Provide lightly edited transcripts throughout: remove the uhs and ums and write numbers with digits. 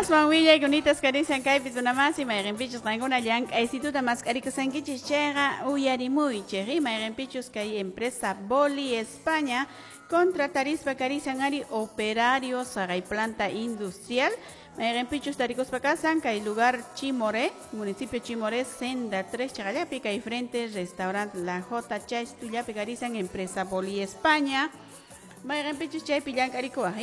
Aswan willaykunita karisan kaypi runamasi mayqinpichus qankuna llank'aysituta mask'arikusankichis chayqa uyarimuychik mayqinpichus kay empresa Boli España contratarispa karisan ari operarios haqay planta industrial mayqinpichus tarikuspa kasan kay lugar Chimoré, municipio Chimoré, senda 3 chaqallapi kay frente restaurante La J Chaystullapi karisan empresa Boli España mayqinpichus chaypi llank'arikuwaq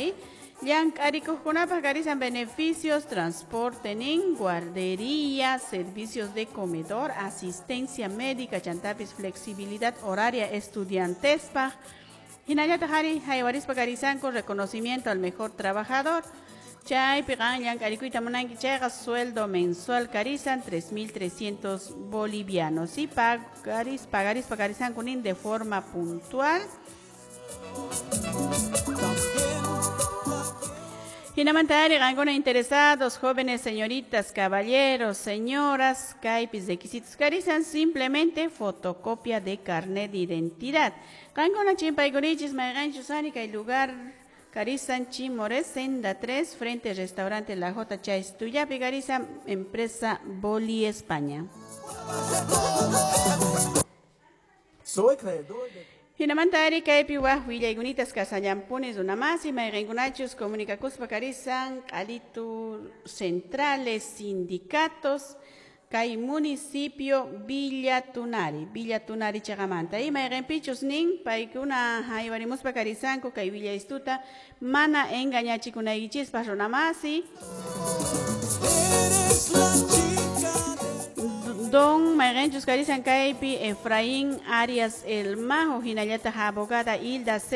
Llank'arikuqkunapaq karisan beneficios, transporte nin, guardería, servicios de comedor, asistencia médica, chantapis flexibilidad horaria estudiantespaq. Hinallataq ari haywarispa karisanku reconocimiento al mejor trabajador. Chaypi qan llank'arikuyta munanki chayqa sueldo mensual karisan 3.300 bolivianos. Y pagarispa karisanku nin de forma puntual. Hinamanta ari qankuna interesados, jóvenes, señoritas, caballeros, señoras, kaypis requisitos karisan simplemente fotocopia de carnet de identidad. Qankuna chimpaykunichis mayqanchus ari kay lugar karisan Chimoré, senda 3, frente restaurante La J Chaystullapi karisan empresa Boli España. Soy creador de Hinamanta ari kaypi waq willaykunita kasallanpuni runamasi mayqinkunachus comunicakuspa karisan q'alitu centrales sindicatos kay municipio Villa Tunari, Villa Tunari chaqamanta y mayqinpichus nin paykuna haywarimuspa karisanku kay willaystuta mana engañachikunaykichispas runamasi. Eres la chica. Don mayqinchus karisan kaypi Efraín Arias El Majo hinallataq abogada Hilda C.